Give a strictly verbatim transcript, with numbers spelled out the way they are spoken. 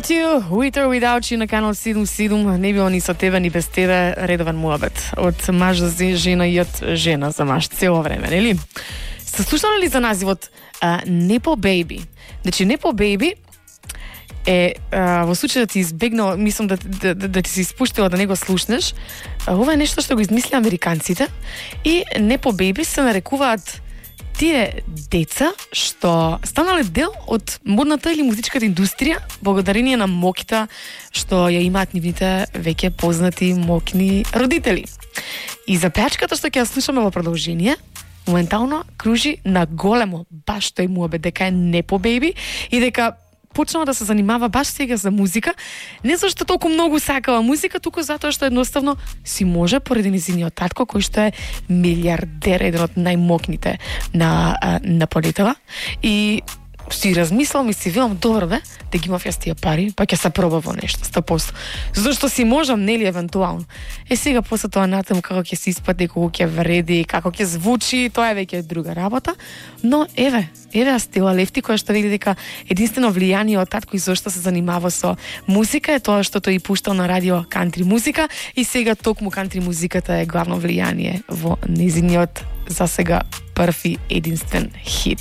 With You, With or Without You на канал седум седум, не било ни со тебе, ни без тебе, редовен муабет. Од маж за жена и од жена за маж, цело време, нели? Се слушнали ли за називот uh, Nepo Baby? Значи, Nepo Baby е, uh, во случај да ти избегнал, мислам да, да, да, да ти се испуштила да не го слушнеш, uh, ова е нешто што го измисли американците и Nepo Baby се нарекуваат тие деца што станале дел од модната или музичката индустрија благодарение на моките што ја имаат нивните веќе познати мокни родители. И за пеачката што ќе ја слушаме во продолжение, моментално кружи на големо баш тој муабет дека е Nepo Baby и дека почнала да се занимава баш сега за музика, не зашто толку многу сакала музика, туку затоа што едноставно си може поради низиниот татко кој што е милиардер, еден од најмокните на на планетава, и си размислам и си велам, добро бе, да ги имав јас тие пари, па ќе се проба во нешто, сто проценти. Зашто си можам, нели, евентуално. Е, сега после тоа натаму како ќе се испати, како ќе вреди, како ќе звучи, тоа е веќе друга работа, но еве, еве а Стела Лефти, која што вели дека единствено влијание од татко и зашто се занимава со музика е тоа што тој пуштал на радио кантри музика и сега токму кантри музиката е главно влијание во незиниот за сега први единствен хит.